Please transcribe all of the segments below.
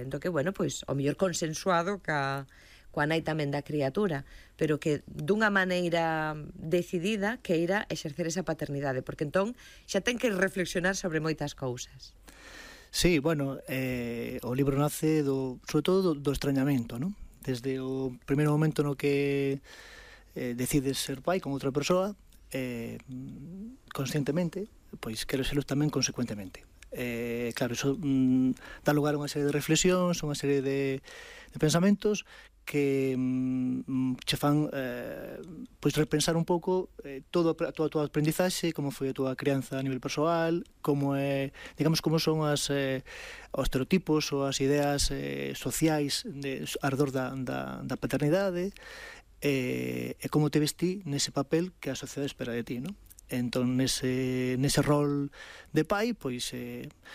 entón que, bueno, pois, o mellor consensuado coa nai tamén da criatura, pero que dunha maneira decidida que ira exercer esa paternidade, porque entón xa ten que reflexionar sobre moitas cousas. Sí, bueno, o libro nace sobre todo do extrañamento, non? Desde o primeiro momento no que decides ser pai con outra persoa, conscientemente, pois quero serlo tamén consecuentemente. Claro, iso dá lugar a unha serie de reflexións, unha serie de pensamentos que che fan pois repensar un pouco toda a tua aprendizaxe, como foi a tua crianza a nivel persoal, como é, digamos, como son os estereotipos ou as ideas sociais arredor da paternidade, e como te vestí nese papel que a sociedade espera de ti, non? Entón, nese rol de pai, pois,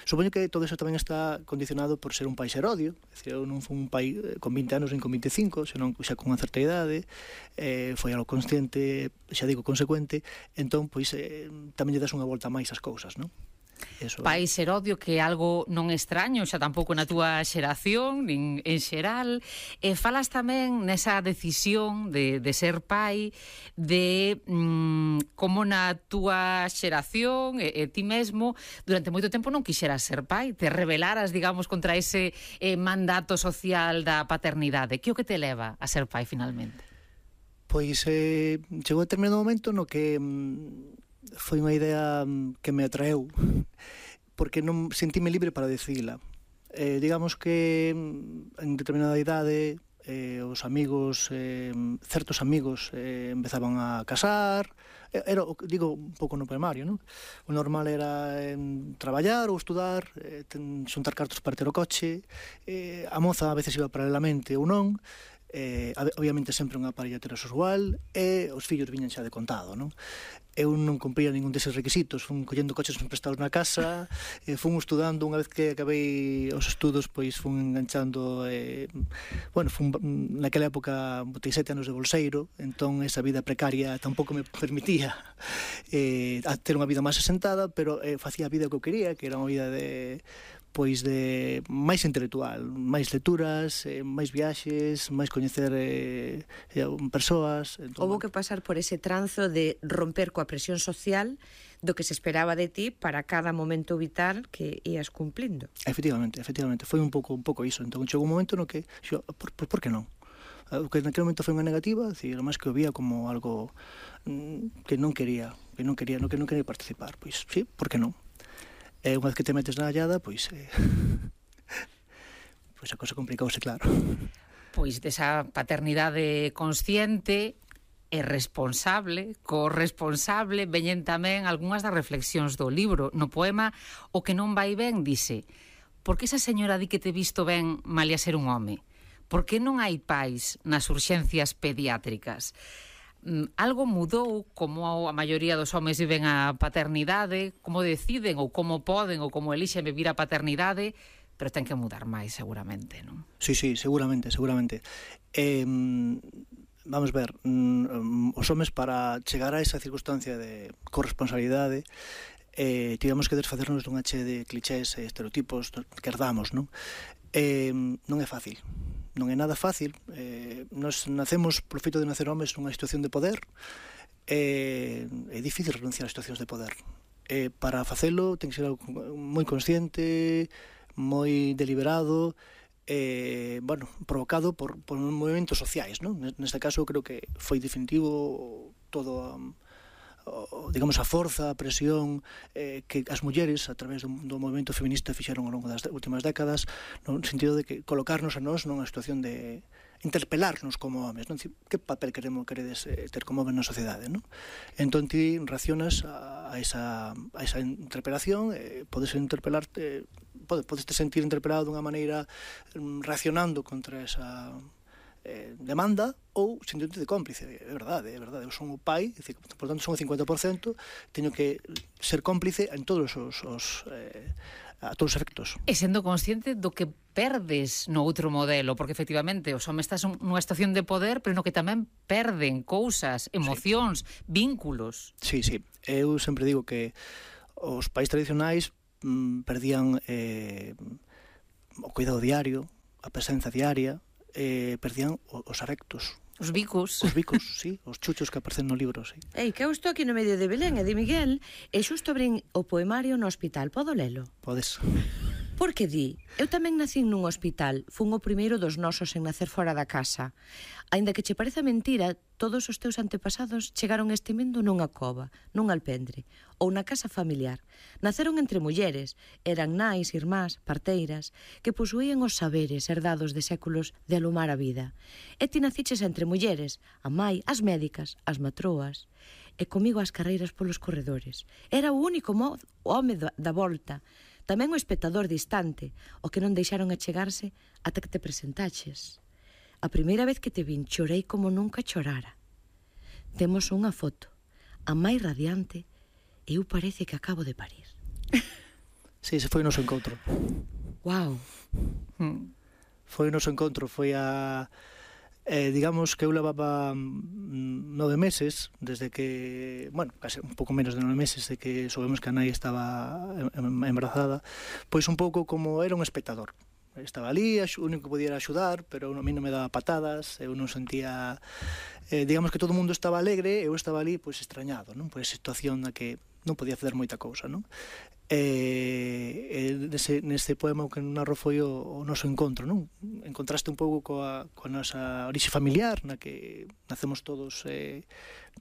supoño que todo eso tamén está condicionado por ser un pai serodio. É dicir, eu non fui un pai con 20 anos nin con 25, senón xa con unha certa idade, foi algo consciente, xa digo, consecuente, entón, pois, tamén lle das unha volta máis ás cousas, non? Pai serodio, que é algo non extraño xa tampouco na túa xeración nin en xeral, e falas tamén nesa decisión de ser pai, de como na túa xeración e ti mesmo durante moito tempo non quixeras ser pai, te rebelaras, digamos, contra ese mandato social da paternidade. Que o que te leva a ser pai finalmente? Pois chegou a determinado momento no que foi unha idea que me atraeu, porque non sentíme libre para decidila. Digamos que en determinada idade os amigos, certos amigos empezaban a casar, era, digo, un pouco no primario, non? O normal era traballar ou estudar, xuntar cartos para ter o coche, a moza a veces iba paralelamente ou non, obviamente sempre unha parella heterosexual, e os fillos viñan xa de contado, non? Eu non cumpría ningún deses requisitos, fun collendo coches prestados na casa, fun estudando, unha vez que acabei os estudos, pois fun enganchando, bueno, naquela época botei 7 anos de bolseiro, entón esa vida precaria tampouco me permitía ter unha vida máis asentada, pero facía a vida que eu quería, que era unha vida de máis intelectual, máis lecturas, máis viaxes, máis coñecer persoas. Houbo que pasar por ese tranzo de romper coa presión social do que se esperaba de ti para cada momento vital que ías cumplindo. Efectivamente, foi un pouco iso. Entón chegou un momento no que por que non? O que naquele momento foi unha negativa, decir, máis que o vía como algo que non quería participar. Pois sí, por que non? E unha vez que te metes na hallada, pois a cosa complicouse, claro. Pois desa paternidade consciente e responsable, corresponsable, veñen tamén algunhas das reflexións do libro. No poema O que non vai ben, dice: por que esa señora di que te visto ben malia ser un home? Por que non hai pais nas urxencias pediátricas? Algo mudou como a maioría dos homes viven a paternidade, como deciden ou como poden ou como elixen vivir a paternidade, pero ten que mudar máis seguramente, non? Sí, seguramente. Vamos ver, os homes para chegar a esa circunstancia de corresponsabilidade tivemos que desfacernos dunha che de clichés e estereotipos que herdamos, non? Non é fácil. Non é nada fácil. Nos nacemos por feito de nacer homes nunha situación de poder. É difícil renunciar a situacións de poder. Para facelo ten que ser algo moi consciente, moi deliberado, bueno, provocado por movimentos sociais, non? Neste caso creo que foi definitivo todo digamos, a forza, a presión que as mulleres, a través do movimento feminista, fixeron ao longo das últimas décadas, no sentido de que colocarnos a nós nunha situación de interpelarnos como homes, non? Que papel queredes ter como homes na sociedade, non? Entón ti reaccionas a esa interpelación, podes te sentir interpelado dunha maneira reaccionando contra esa demanda ou sentindo de cómplice. É verdade, eu son o pai, por tanto son o 50%, teño que ser cómplice en todos a todos os efectos. E sendo consciente do que perdes no outro modelo, porque efectivamente os homes están nunha situación de poder, pero no que tamén perden cousas, emocións, vínculos. Sí, eu sempre digo que os pais tradicionais perdían o cuidado diario, a presenza diaria, perdían os arectos. Os bicos. Os bicos, sí, os chuchos que aparecen no libro, sí. Ei, que eu estou aquí no medio de Belén e de Miguel e xusto abrín o poemario no hospital. Podo lelo? Podes. Porque di, eu tamén nacín nun hospital, fun o primeiro dos nosos en nacer fora da casa. Aínda que che pareza mentira, todos os teus antepasados chegaron a este mundo nunha cova, nun alpendre, ou na casa familiar. Naceron entre mulleres, eran nais, irmás, parteiras, que posuían os saberes herdados de séculos de alumar a vida. E ti naciches entre mulleres, a mai, as médicas, as matroas, e comigo as carreiras polos corredores. Era o único home da volta, tamén o espectador distante, o que non deixaron achegarse ata que te presentaches. A primeira vez que te vin chorei como nunca chorara. Temos unha foto, a máis radiante, e eu parece que acabo de parir. Sí, ese foi o noso encontro. Wow. Foi o noso encontro, foi a... digamos que eu levaba 9 meses desde que, bueno, case un pouco menos de 9 meses de que soubemos que a nai estaba embarazada, pois un pouco como era un espectador. Estaba ali, o único que podía era axudar, pero a mí non me daba patadas, eu non sentía, digamos que todo o mundo estaba alegre, eu estaba ali pois extrañado, non? Por esa situación na que non podía facer moita cousa, non? Neste poema o que narro foi o noso encontro, non? Encontraste un pouco coa nosa orixe familiar, na que nacemos todos,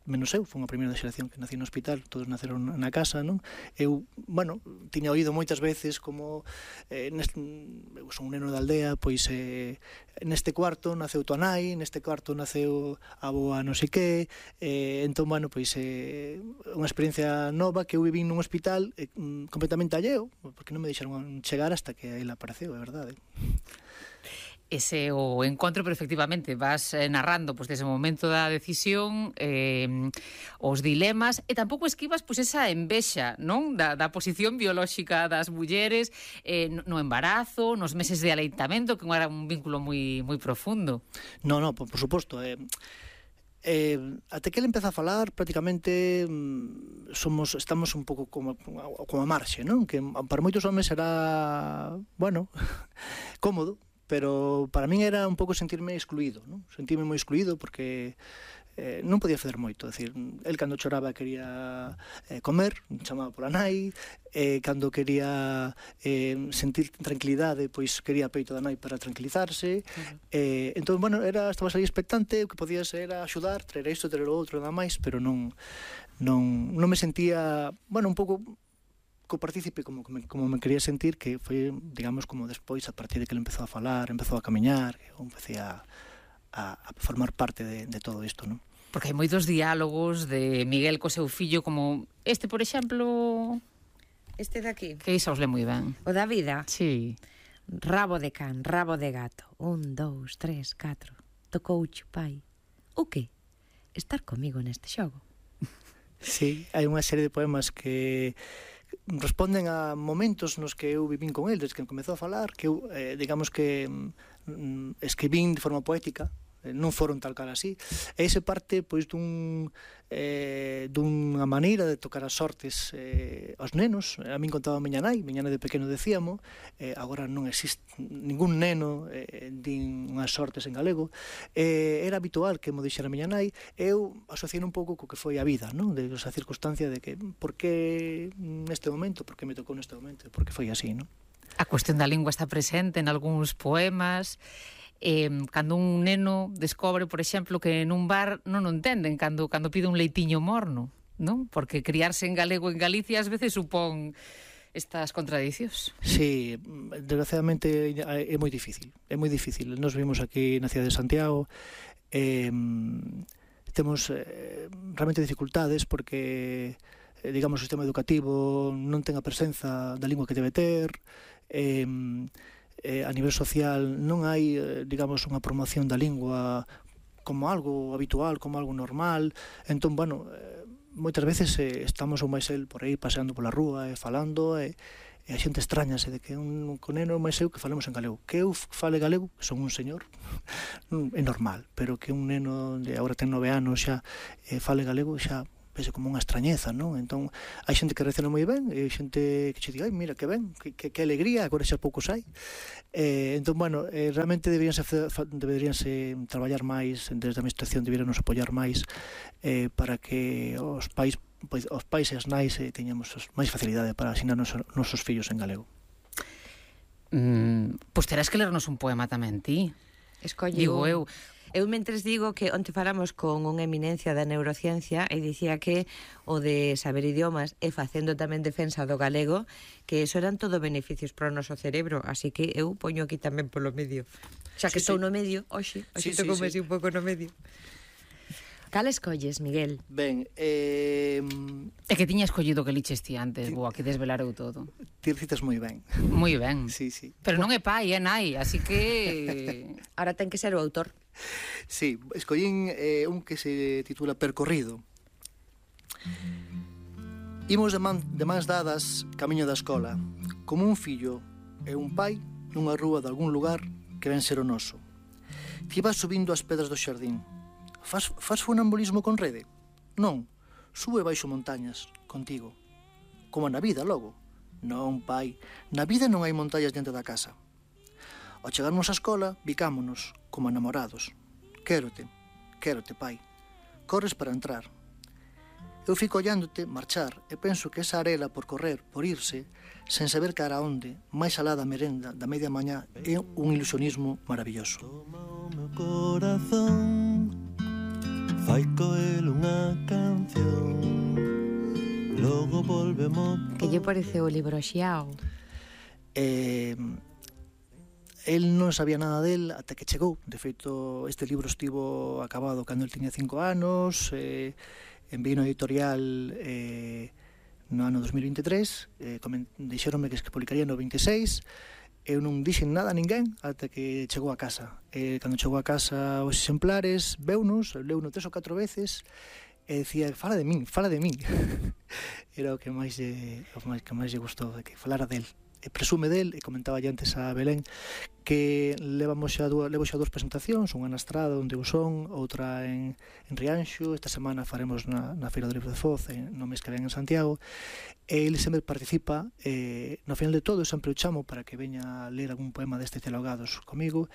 menos eu, foi a primeira xeración que nací no hospital, todos naceron na casa, non? Eu, bueno, tiña oído moitas veces como eu son un neno da aldea, pois neste cuarto naceu tua nai, neste cuarto naceu a boa non sei que, entón, bueno, pois unha experiencia nova que eu viví nun hospital completamente alleo, porque non me deixaron chegar hasta que ele apareceu, é verdade. Ese o encontro, pero efectivamente vas narrando pois desde o momento da decisión, os dilemas, e tampouco esquivas pois esa envexa, non? Da posición biolóxica das mulleres no embarazo, nos meses de aleitamento, que era un vínculo moi profundo. No, por suposto, até que ele empeza a falar prácticamente estamos un pouco como a marxe, non? Que para moitos homes era, bueno, cómodo, pero para min era un pouco sentirme excluído, non? Sentirme moi excluído porque non podía facer moito, decir, el cando choraba quería comer, chamaba pola nai, cando quería sentir tranquilidade, pois quería peito da nai para tranquilizarse. Entón, bueno, estabas aí expectante, o que podías era axudar, traer isto, traer o outro, nada máis, pero non me sentía, bueno, un pouco copartícipe como me quería sentir, que foi, digamos, como despois, a partir de que ele empezou a falar, empezou a camiñar, eu empecé a formar parte de todo isto, non? Porque hai moitos diálogos de Miguel co seu fillo, como este, por exemplo... Este de aquí. Que iso os le moi ben. O da vida. Sí. Rabo de can, rabo de gato. 1, 2, 3, 4. Tocouche, pai. O que? Estar comigo neste xogo. Sí, hai unha serie de poemas que responden a momentos nos que eu vivín con el desde que comezou a falar, que eu, digamos que escribín de forma poética, non foron tal cal así, e ese parte pois dunha maneira de tocar as sortes aos nenos. A min contaba a miña nai de pequeno decíamos, agora non existe ningún neno din unhas sortes en galego, era habitual que mo dixera a miña nai, eu asociei un pouco co que foi a vida, non? De esa circunstancia de que por que neste momento, por que me tocou neste momento, por que foi así, non? A cuestión da lingua está presente en algúns poemas. Cando un neno descobre, por exemplo, que nun bar non o entenden cando pide un leitiño morno, non? Porque criarse en galego en Galicia ás veces supón estas contradicións. Sí, desgraciadamente é moi difícil. Nos vimos aquí na cidade de Santiago, temos realmente dificultades porque, digamos, o sistema educativo non ten a presenza da lingua que debe ter, a nivel social non hai, digamos, unha promoción da lingua como algo habitual, como algo normal. Entón, bueno, moitas veces estamos o máis el por aí paseando pola rúa e falando, e a xente extrañase de que un neno máis eu que falemos en galego. Que eu fale galego, que son un señor, é normal, pero que un neno de agora ten 9 anos xa fale galego, xa vese como unha extrañeza, non? Entón, hai xente que reacciona moi ben, e hai xente que che diga, ai, mira, que ben, que alegría, agora xa pouco sai. Entón, bueno, realmente deberíanse traballar máis, desde a administración deberíanos apoiar máis para que os pais e as nais teñamos máis facilidade para asinar nosos fillos en galego. Pois terás que lernos un poema tamén ti. Escolle Digo eu. Eu mentres digo que onte falamos con unha eminencia da neurociencia e dicía que o de saber idiomas e facendo tamén defensa do galego, que eso eran todo beneficios para o noso cerebro, así que eu poño aquí tamén polo medio. Xa que estou no medio, hoxe toco así un pouco no medio. Cal escolles, Miguel? Ben, É que tiña escollido que liches ti antes, boa, que desvelareu todo. Ti citas moi ben. Moi ben. Sí, sí. Pero non é pai, é nai, así que... Ahora ten que ser o autor. Sí, escollín un que se titula Percorrido. Imos de mans dadas camiño da escola, como un fillo e un pai nunha rúa de algún lugar que ven ser o noso. Ti vas subindo as pedras do xardín. Fas funambulismo con rede? Non, sube baixo montañas, contigo. Como na vida, logo. Non, pai, na vida non hai montañas diante da casa. Ao chegarmos á escola, bicámonos, como enamorados. Quérote, pai. Corres para entrar. Eu fico ollándote marchar e penso que esa arela por correr, por irse, sen saber cara a onde, máis alá da merenda, da media mañá, é un ilusionismo maravilloso. Toma o meu corazón, fai coel unha canción, logo volvemos. Que lle pareceu o libro Xiao? El non sabía nada del ata que chegou. De feito, este libro estivo acabado cando el tiña 5 anos, enviei no editorial no ano 2023, dixéronme que publicaría no 26, eu non dixen nada a ninguén ata que chegou a casa. Cando chegou a casa os exemplares, leuno 3 ou 4 veces, e dicía, fala de min. Era o que máis lle gustou, que falara del. Presume del, e comentaba antes a Belén, que levo xa dúas presentacións, unha na Estrada onde eu son, outra en Rianxo. Esta semana faremos na Feira do Libro de Foz, no mes que ven en Santiago, e ele sempre participa, no final de todo sempre o chamo para que veña a ler algún poema destes dialogados comigo,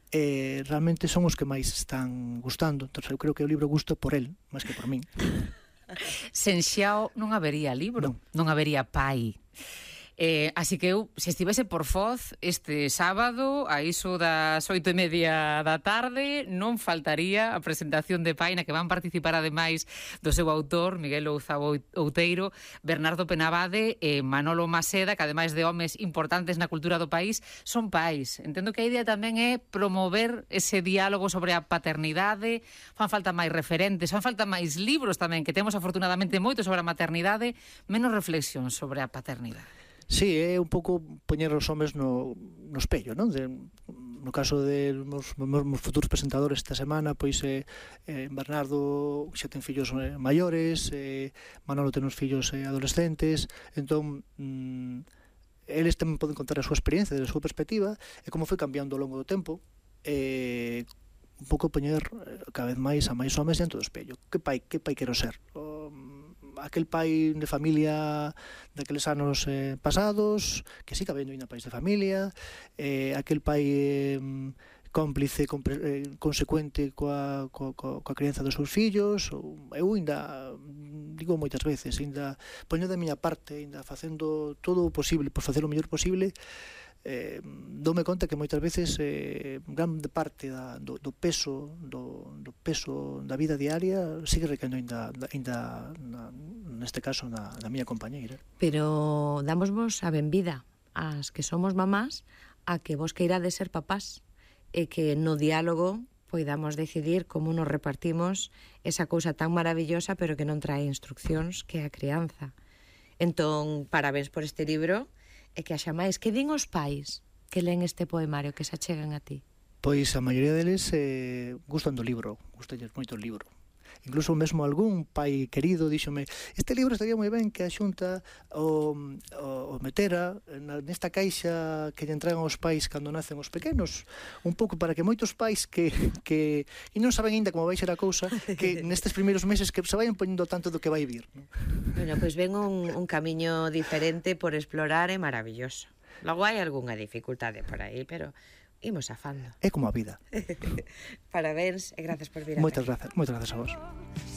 e realmente son os que máis están gustando. Entón eu creo que o libro gusta por el, máis que por min. Sen Xiao non habería libro, non habería pai. Así que eu, se estivese por Foz este sábado a iso das 8:30 da tarde, non faltaría a presentación de pai na que van participar ademais do seu autor Miguel Ouza Outeiro, Bernardo Penabade e Manolo Maseda, que ademais de homes importantes na cultura do país son pais. Entendo que a idea tamén é promover ese diálogo sobre a paternidade. Fan falta máis referentes, fan falta máis libros tamén, que temos afortunadamente moito sobre a maternidade, menos reflexión sobre a paternidade. Sí, é un pouco poñer os homes no espello, non? No caso de meus futuros presentadores esta semana, pois Bernardo xa ten fillos maiores, Manolo ten uns fillos adolescentes, entón eles tamén poden contar a súa experiencia, a súa perspectiva, e como foi cambiando ao longo do tempo, un pouco poñer cada vez máis a máis homes dentro do espello. Que pai quero ser? Aquel pai de familia daqueles anos pasados, que siga habendo ainda pais de familia, aquel pai cómplice, consecuente coa crianza dos seus fillos. Eu ainda digo moitas veces, ainda poño da miña parte, ainda facendo todo o posible por facer o mellor posible. Doume conta que moitas veces grande parte do peso da vida diaria sigue recaendo ainda neste caso na miña compañeira. Pero damosvos a benvida ás que somos mamás a que vos queirades ser papás e que no diálogo poidamos decidir como nos repartimos esa cousa tan maravillosa pero que non trae instruccións, que é a crianza. Entón, parabéns por este libro. E que haxa máis. Que din os pais que leen este poemario, que se achegan a ti? Pois a maioría deles gustan do libro, gustanlles moito o libro. incluso mesmo algún pai querido díxome, este libro estaría moi ben que a Xunta o metera nesta caixa que lle entregan aos pais cando nacen os pequenos, un pouco para que moitos pais que e non saben ainda como vai ser a cousa, que nestes primeiros meses que se vayan poñendo tanto do que vai vir, non? Bueno, pois ven un camiño diferente por explorar, é maravilloso. Logo hai algunha dificultade por aí, pero imos afando. É como a vida. Parabéns e gracias por vir a Moitas grazas a vos.